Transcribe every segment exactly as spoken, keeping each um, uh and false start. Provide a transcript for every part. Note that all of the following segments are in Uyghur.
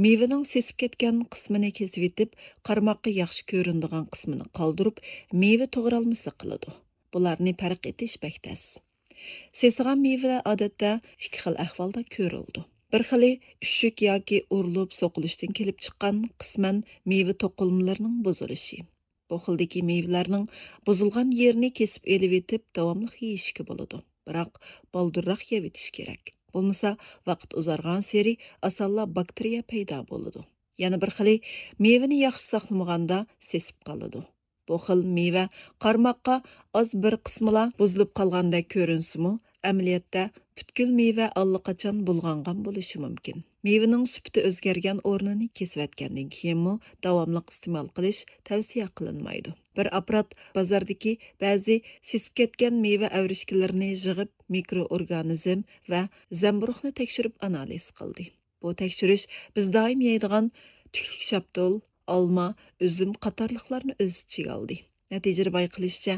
مېۋىنىڭ سېسىپ كەتكەن قىسمىنى كېسىۋېتىپ، قارىماققا ياخشى كۆرۈنىدىغان قىسمىنى قالدۇرۇپ، مېۋە توغرالمىسى قىلىدۇ. بۇلارنى پەرق ئېتىش بەك تەس. سېسىغان مېۋىلەر ئادەتتە ئىككى خىل ئەھۋالدا كۆرۈلىدۇ. بىر خىلى ئۈششۈك ياكى ئۇرۇلۇپ سوقۇلۇشتىن كېلىپ چىققان قىسمەن مېۋە توقۇلمىلىرىنىڭ بۇزۇلۇشى. بۇ خىلدىكى مېۋىلەرنىڭ بۇزۇلغان يېرىنى كېسىپ ئېلىۋېتىپ، داۋاملىق يېيىشكە بولىدۇ. بىراق، بالدۇرراق يەۋېتىش كېرەك. بولمىسا، ۋاقىت ئۇزارغانسېرى ئاسانلا باكتېرىيە پەيدا بولىدۇ. يەنە بىر خىلى، مېۋىنى ياخشى ساقلىمىغاندا سېسىپ قالىدۇ. بۇ خىل مېۋە قارىماققا ئاز بىر قىسمىلا بۇزۇلۇپ قالغاندەك كۆرۈنسىمۇ، ئەمەلىيەتتە پۈتكۈل مېۋە ئاللىقاچان بۇلغانغان بولۇشى مۇمكىن. مېۋىنىڭ سۈپىتى ئۆزگەرگەن ئورنىنى كېسىۋەتكەندىن كېيىنمۇ داۋاملىق ئىستېمال قىلىش تەۋسىيە قىلىنمايدۇ. بىر ئاپپارات بازاردىكى بەزى سېسىپ كەتكەن مېۋە ئەۋرىشكىلىرىنى يىغىپ، مىكرو ئورگانىزم ۋە زەمبۇرۇغنى تەكشۈرۈپ ئانالىز قىلدى. بۇ تەكشۈرۈش بىز دائىم يەيدىغان تۈكلۈك شاپتۇل، ئالما، ئۈزۈم قاتارلىقلارنى ئۆز ئىچىگە ئالدى. نەتىجىدە بايقىلىشىچە،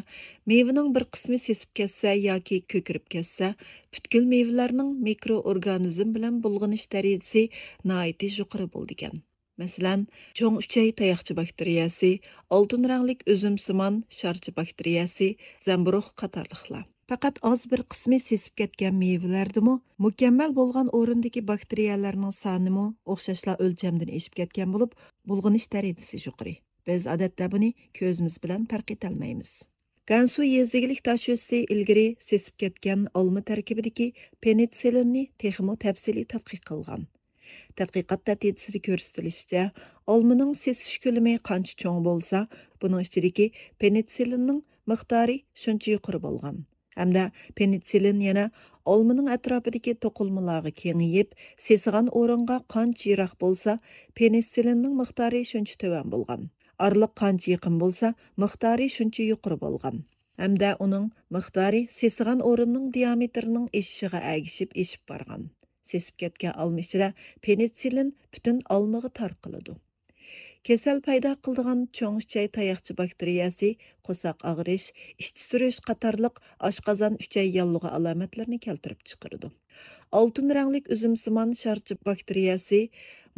مېۋىنىڭ بىر قىسمى سېسىپ كەتسە ياكى كۆكىرىپ كەتسە، پۈتكۈل مېۋىلەرنىڭ مىكرو ئورگانىزم بىلەن بۇلغىنىش دەرىجىسى ناھايىتى يۇقىرى بولىدىكەن. مەسىلەن، چوڭ ئۈچەي تاياقچە باكتېرىيەسى، ئالتۇن رەڭلىك ئۈزۈمسىمان شارچە باكتېرىيەسى، زەمبۇرۇغ قاتارلىقلار. پەقەت ئاز بىر قىسمى سېسىپ كەتكەن مېۋىلەردىمۇ مۇكەممەل بولغان ئورۇندىكى باكتېرىيەلەرنىڭ سانىمۇ ئوخشاشلا ئۆلچەمدىن ئېشىپ كەتكەن بولۇپ، بۇلغىنىش دەرىجىسى يۇقىرى. بىز ئادەتتە بۇنى كۆزىمىز بىلەن پەرق ئېتەلمەيمىز. گەنسۇ يېزا ئىگىلىك داشۆسى ئىلگىرى سېسىپ كەتكەن ئالما تەركىبىدىكى پېنىتسىلىننى تېخىمۇ تەپسىلىي تەتقىق قىلغان. تەتقىقات نەتىجىسىدە كۆرسىتىلىشىچە، ئالمىنىڭ سېسىش كۆلىمى قانچە چوڭ بولسا، بۇنىڭ ئىچىدىكى پېنىتسىلىننىڭ مىقدارى شۇنچە يۇقىرى بولغان. ھەمدە پېنىتسىلىن يەنە ئالمىنىڭ ئەتراپىدىكى توقۇلمىلارغا كېڭىيىپ، سېسىغان ئورۇنغا قانچە يىراق بولسا، پېنىتسىلىننىڭ مىقدارى شۇنچە تۆۋەن بولغان. ئارىلىق قانچە يېقىن بولسا، مىقدارى شۇنچە يۇقىرى بولغان. ھەمدە ئۇنىڭ مىقدارى سېسىغان ئورۇننىڭ دىئامېتىرىنىڭ ئېشىشىغا ئەگىشىپ ئېشىپ بارغان. سېسىپ كەتكەن ئالما ئىچىدە پېنىتسىلىن پۈتۈن ئالمىغا تارقىلىدۇ. كېسەل پەيدا قىلىدىغان چوڭ ئۈچەي تاياقچە باكتېرىيەسى قورساق ئاغرىش، ئىچ سۈرۈش قاتارلىق ئاشقازان، ئۈچەي ياللۇغى ئالامەتلىرىنى كەلتۈرۈپ چىقىرىدۇ. ئالتۇن رەڭلىك ئۈزۈمسىمان شارچە باكتېرىيەسى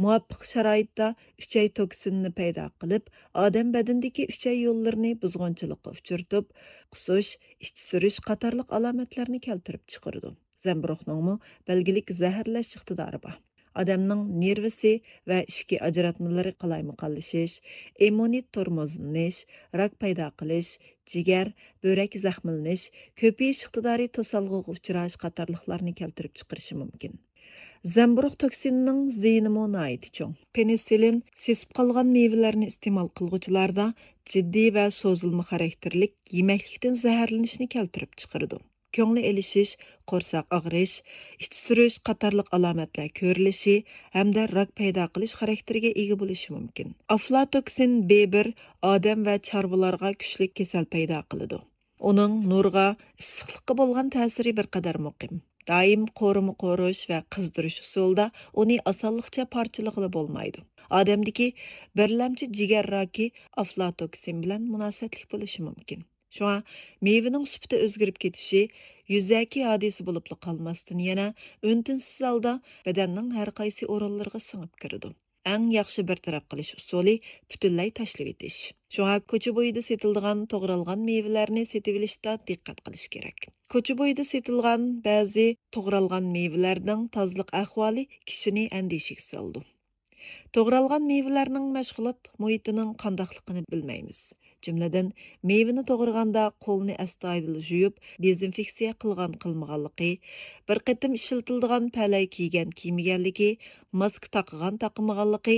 مۇۋاپىق شارائىتتا ئۈچەي توكسىنىنى پەيدا قىلىپ، ئادەم بەدىنىدىكى ئۈچەي يوللىرىنى بۇزغۇنچىلىققا ئۇچرىتىپ، قۇسۇش، ئىچ سۈرۈش قاتارلىق ئالامەتلەرنى كەلتۈرۈپ چىقىرىدۇ. زەمبۇرۇغنىڭمۇ بەلگىلىك زەھەرلەش ئىقتىدارى بار. ئادەمنىڭ نېرۋىسى ۋە ئىچكى ئاجراتمىلىرى قالايمىقانلىشىش، ئىممۇنىتېت تورمۇزلىنىش، راك پەيدا قىلىش، جىگەر، بۆرەك زەخىملىنىش، كۆپىيىش ئىقتىدارى توسالغۇغا ئۇچراش قاتارلىقلارنى كەلتۈرۈپ چىقىرىشى مۇمكىن. زەمبۇرۇغ توكسىنىنىڭ زىيىنىمۇ ناھايىتى چوڭ. پېنىسىلىن سېسىپ قالغان مېۋىلەرنى ئىستېمال قىلغۇچىلاردا جىددىي ۋە سوزۇلما خاراكتېرلىك يېمەكلىكتىن زەھەرلىنىشنى كەلتۈرۈپ چىقىرىدۇ. كۆڭلى ئېلىشىش، قورساق ئاغرىش، ئىچ سۈرۈش قاتارلىق ئالامەتلەر كۆرۈلۈشى ھەمدە راك پەيدا قىلىش خاراكتېرىگە ئىگە بولۇشى مۇمكىن. ئافلاتوكسىن بې بىر ئادەم ۋە چارۋىلارغا كۈچلۈك كېسەل پەيدا قىلىدۇ. ئۇنىڭ نۇرغا، ئىسسىقلىققا بولغان تەسىرى بىر قەدەر مۇقىم. دائىم قورۇما قورۇش ۋە قىزدۇرۇش ئۇسۇلىدا ئۇنى ئاسانلىقچە پارچىلىغىلى بولمايدۇ. ئادەمدىكى بىرلەمچى جىگەر راكى ئافلاتوكسىن بىلەن مۇناسىۋەتلىك بولۇشى مۇمكىن. شۇڭا مېۋىنىڭ سۈپىتى ئۆزگىرىپ كېتىشى يۈزەكى ھادىسە بولۇپلا قالماستىن، يەنە ئۈن-تىنسىز ھالدا بەدەننىڭ ھەر قايسى ئورۇنلىرىغا سىڭىپ كىرىدۇ. ئەڭ ياخشى بىر تەرەپ قىلىش ئۇسۇلى پۈتۈنلەي تاشلىۋېتىش. شۇڭا كوچا بويىدا سېتىلىدىغان توغرالغان مېۋىلەرنى سېتىۋېلىشتا دىققەت قىلىش كېرەك. كوچا بويىدا سېتىلغان بەزى توغرالغان مېۋىلەرنىڭ تازىلىق ئەھۋالى كىشىنى ئەندىشىگە سالىدۇ. توغرالغان مېۋىلەرنىڭ مەشغۇلات مۇھىتىنىڭ قانداقلىقىنى بىلمەيمىز. جۈملىدىن، مېۋىنى توغرىغاندا قولنى ئەستايىدىل يۇيۇپ، دېزىنفېكسىيە قىلغان قىلمىغانلىقى، بىر قېتىم ئىشلىتىلىدىغان پەلەي كىيگەن كىيمىگەنلىكى، ماسكا تاقىغان تاقىمىغانلىقى،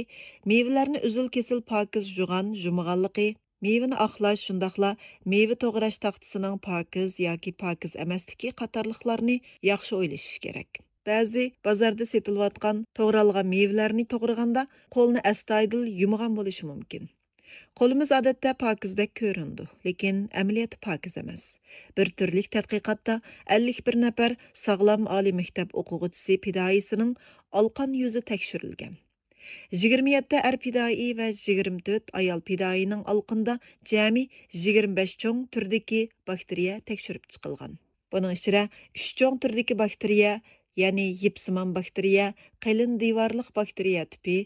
مېۋىلەرنى ئۈزۈل-كېسىل پاكىز يۇغان يۇمىغانلىقى، مېۋىنى ئاقلاش، شۇنداقلا مېۋە توغراش تاختىسىنىڭ پاكىز ياكى پاكىز ئەمەسلىكى قاتارلىقلارنى ياخشى ئويلىشىش كېرەك. بەزى بازاردا سېتىلىۋاتقان توغرالغان مېۋىلەرنى توغرىغاندا قولنى ئەستايىدىل يۇمىغان بولۇشى مۇمكىن. قولىمىز ئادەتتە پاكىزدەك كۆرۈنىدۇ، لېكىن ئەمەلىيەتتە پاكىز ئەمەس. بىر تۈرلۈك تەتقىقاتتا ئەللىك بىر نەپەر ساغلام ئالىي مەكتەپ ئوقۇغۇچىسى پىدائىيسىنىڭ ئالقان يۈزى تەكشۈرۈلگەن. يىگىرمە يەتتە ئەر پىدائىي ۋە يىگىرمە تۆت ئايال پىدائىينىڭ ئالقىنىدا جەمئىي يىگىرمە بەش چوڭ تۈردىكى باكتېرىيە تەكشۈرۈپ چىقىلغان. بۇنىڭ ئىچىدە ئۈچ چوڭ تۈردىكى باكتېرىيە، يەنى يىپسىمان باكتېرىيە، قېلىن دىۋارلىق باكتېرىيە تىپى،